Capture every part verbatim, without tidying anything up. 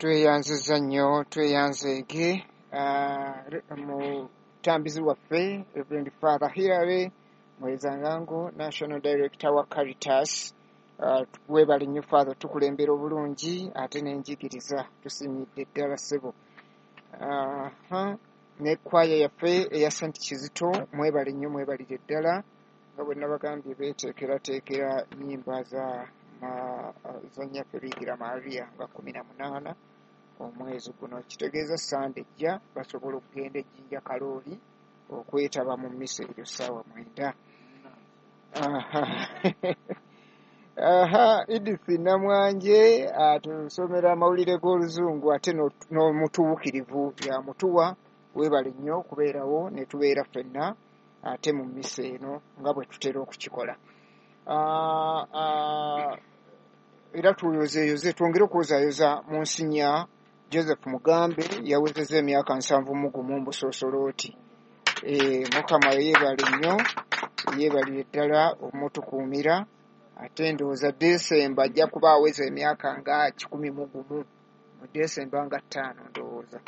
Tweyanziza nnyo, tweyanzeege uh, mutambizi waffe Reverend Father Hilary Mwezangango, National Director wa Caritas. Uh, webale nnyo Father, tukulembera obulungi ate n'enjigiriza, tusiimidde ddala ssebo. Uh, ne kwaya yaffe eya Saint Kizito, mwebale nnyo, mwebalire ddala nga bwe nabagambye beeteekerateekera nnyimba za za nnyaffe Biikira Maria nga kkumi na munaana omwezi guno, kitegeeza Sande ejja basobola okugenda e Jjinja Kalooli okwetaba mu mmisa eryo ssaawa mwenda. Aha, Edith Namwanje atusomera amawulire g'Oluzungu ate n'omutuukirivu yamutuwa. Weebale nnyo okubeerawo ne tubeera ffenna ate mu mmisa eno nga bwe tutera okukikola. Era tuyozeeyoze, twongere okwozaayoza mu nsinya Joseph Mugambe yawezezza emyaka nsanvu mu gumu mu busoosolooti. Mukama yeebale nnyo, yeebalire ddala omutukuumira. Ate ndowooza Desemba ajja kuba aweza emyaka nga kikumi mu gumu, mu Desemba nga ttaano ndowooza.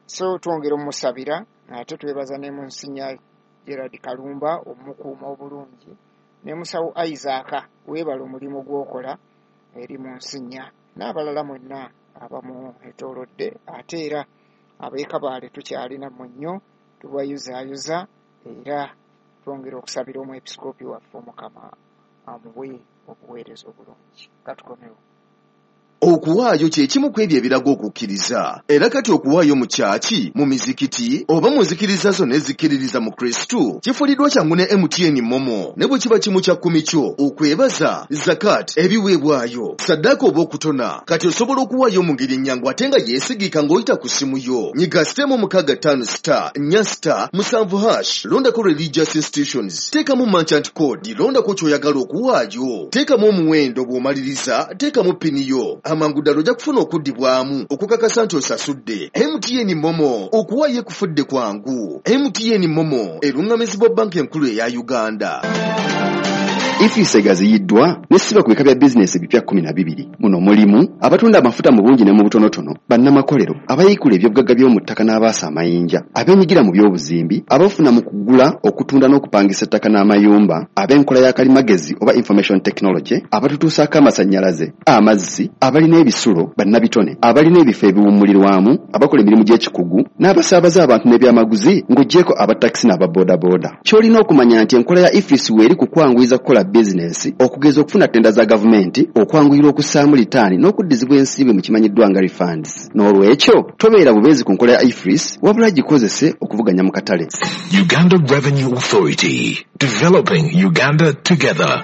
So twongera omusabira ate twebaza ne munsinya Gerard Kalumba omukuuma obulungi, ne musawo Isaac weebale omulimu gw'okola eri mu nsinya, n'abalala mwenna abamu etoolodde. Ate era ab'e Kabaale tukyalina mmwe nnyo, tubayuzaayuza era twongera okusabira omwepisikoopi waffe, Omukama amuwe obuweereza obulungi. Katukomewo. Okuwaayo kye kimu ku ebyo ebiraga okukkiriza. Era kati okuwaayo mu kyaki, mu mizikiti oba mu nzikiriza zonna ezikkiririza mu Kristu kifuliddwa kyangu ne M T N MoMo. Ne bwe kiba kimu kya kkumi kyo, okwebaza, zakat, ebiweebwayo, saddaaka oba okutona, kati osobola okuwaayo mu ngeri ennyangu ate nga yeesigika ng'oyita ku ssimu yo. Nyiga star emu mukaaga ttaano star nnya star musanvu hash, londako religious institutions, teekamu merchant code, londako ky'oyagala okuwaayo, teekamu omuwendo. Bw'omaliriza, teekamu PIN yo. Amangu ddala ojja kufuna okuddibwamu okukakasa nti osasudde. M T N MoMo, okuwaayo ekufudde kwangu. M T N MoMo eruŋŋamizibwa Banka Enkulu eya Uganda. EFRIS egaziyiddwa nesiba ku bika bya bizinesi ebipya kkumi na bibiri. Muno mulimu abatunda amafuta mu bungi ne mu butonotono, bannamakolero, abayiikula ebyobugagga by'omu ttaka n'abaasa amayinja, abeenyigira mu by'obuzimbi, abafuna mu kugula, okutunda n'okupangisa ettaka n'amayumba, ab'enkola ya kalimagezi oba information technology, abatutuusaako amasannyalaze, amazzi, abalina ebisulo, bannabitone, abalina ebifo ebiwummulirwamu, abakola emirimu gy'ekikugu n'abasaabaza abantu n'ebyamaguzi, ng'oggyeko abatakisi n'ababoodabooda. Ky'olina okumanya nti enkola ya EFRIS weeri ku kwanguyiza kukola bizinesi, okugeza okufuna ttenda za gavumenti, okwanguyirwa okussaamu litaani n'okuddizibwa ensimbi mu kimanyiddwa nga refunds. N'olwekyo tobeera bubeezi ku nkola ya EFRIS, wabula gikozese okuvuganya mu katale. Uganda Revenue Authority. Developing Uganda together.